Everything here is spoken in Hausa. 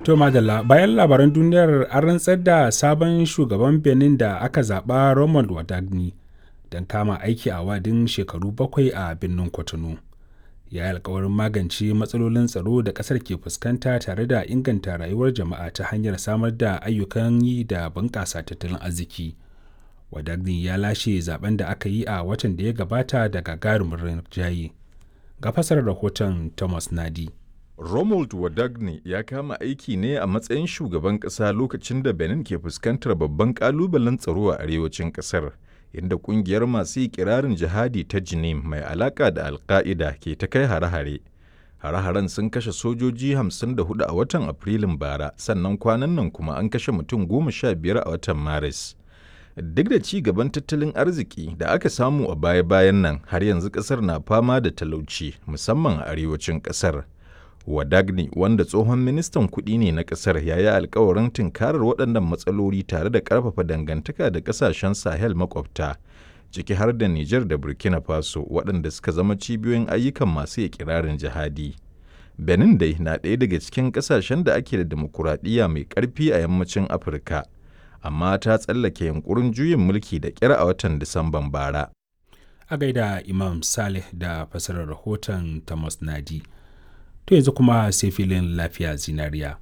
To madalla, bayan labaran duniyar, an rantsar da sabon shugaban Benin da aka zaɓa, Romuald Wadagni, don kama aiki a wa'adin shekaru 7 a birnin Cotonou. Ya yi alkawarin magance matsalolin tsaro da ƙasar ke fuskanta tare da inganta rayuwar jama'a ta hanyar samar da ayyukan yi da bunƙasa tattalin arziki. Wadagni ya lashe zaben da aka yi a watan da ya gabata da gagarumin rinjaye. Ga fasarar rahoton Thomas Nadi. Romuald Wadagne ya kama aiki ne a matsayin shugaban ƙasa lokacin da Benin ke fuskantar babban ƙalubalen tsaro a arewacin ƙasar, inda ƙungiyar masu ikirarin jihadi ta Jinim mai alaƙa da Al-Qaida ke ta kai hare-hare. Hare-haren sun kashe sojoji 54 a watan Afrilun bara, sannan kwanan nan kuma an kashe mutum 15 a watan Maris. Duk da ci gaban tattalin arziki da aka samu a baya-bayan nan, har yanzu ƙasar na fama da talauci, musamman a arewacin ƙasar. Wadagni, wanda tsohon ministan kuɗi ne na ƙasar, ya yi alkawarin tunkarar waɗannan matsaloli tare da ƙarfafa dangantaka da ƙasashen Sahel makwabta, ciki har da Nijar da Burkina Faso, waɗanda suka zama cibiyoyin ayyukan masu ikirarin jihadi. Benin dai na ɗaya daga cikin ƙasashen da ake da dimokuraɗiyya mai ƙarfi a yammacin Afirka, amma ta tsallake yunƙurin juyin mulki da ƙyar a watan Disamban bara. A gaida Imam Saleh da fasarar rahoton Thomas Nadi. To yanzu kuma sai filin lafiya zinariya.